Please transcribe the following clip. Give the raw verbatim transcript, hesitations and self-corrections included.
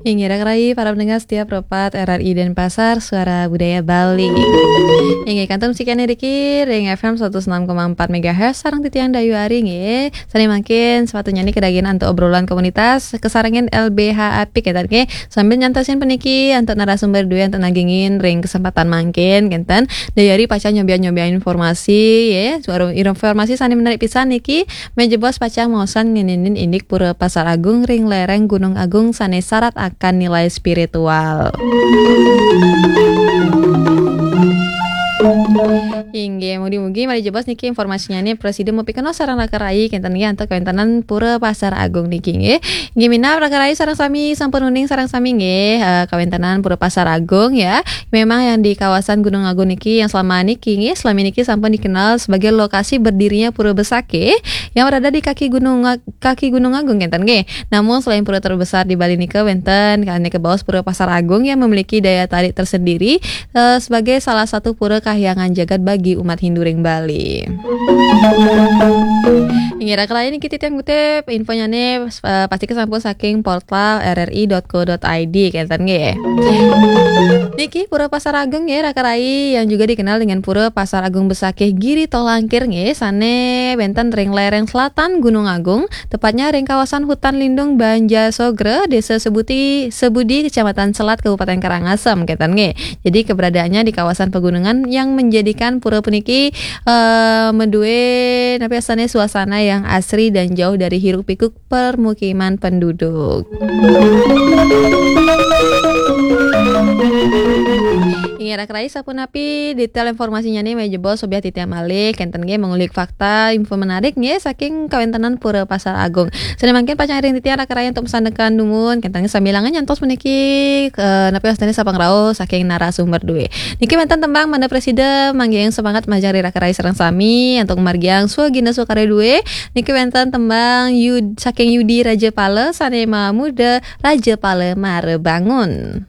Inggih, raka rayi para pendengar setia Pro empat R R I Denpasar, Suara Budaya Bali. Inggih, kantun sikian niki ring F M seratus enam koma empat megahertz, sareng titiang Dayu Ari nggih. Sane mangkin sepatutnya niki kadagian antuk obrolan komunitas, kasarengin L B H apik ya, nggih. Sambil nyantosin puniki antuk narasumber duwe antuk nagingin ring kesempatan mangkin, kenten. Dayu Ari pacang nyobian-nyobian informasi, ya. Suara informasi sane menarik pisan niki, Mejebos pacang maosan ngeninin indik Pura Pasar Agung ring lereng Gunung Agung sane sarat akan nilai spiritual. Inggih, mugi-mugi malih jebos niki informasinyane prasida mapikenoh sareng raka rayi kenten nggih antuk kawentenan Pura Pasar Agung niki nggih. Inggih minab raka rayi sareng sami sampun uning sareng sami nggih, eh, kawentenan Pura Pasar Agung ya. Memang yang di kawasan Gunung Agung niki yang selama niki nggih, selama niki sampun dikenal sebagai lokasi berdirinya Pura Besakih yang berada di kaki Gunung Ag-, kaki Gunung Agung kenten nggih. Namun selain pura terbesar di Bali nika wenten kane kebaos Pura Pasar Agung yang memiliki daya tarik tersendiri, eh, sebagai salah satu pura kahyangan jagat bagi umat Hindu ring Bali. Inggih raka rayi niki titiang ngutip infonyane, eh, pasti kesampun saking portal R R I dot co dot I D kenten nggih. Niki Pura Pasar Agung nggih raka rayi yang juga dikenal dengan Pura Pasar Agung Besakih Giri Tolangkir nggih sane wenten ring lereng selatan Gunung Agung, tepatnya ring kawasan hutan lindung Banja Sogra, Desa Sebuti, Sebudi, Kecamatan Selat, Kabupaten Karangasem kenten nggih. Jadi keberadaannya di kawasan pegunungan yang menjadikan pura puniki, eh, medue napi asane suasana yang asri dan jauh dari hiruk pikuk permukiman penduduk. Inggih raka rayi sapunapi detail informasinyane mejebos sobiah titiang malih kenten nggih mengulik fakta info menarik nggih saking kawentenan Pura Pasar Agung. Sane mangkin pacang ring titiang raka rayi antuk masandekan dumun kenten nggih sambilanga nyantos puniki, eh, napi wastane sapangrauh saking narasumber duwe. Niki wenten tembang mangda prasida manggihin semangat majeng ring raka rayi sareng sami antuk margiang swagina swakarya duwe. Niki wenten tembang Yud-, saking Yudi Rajapala sane mamuda Rajapala Mara Bangun.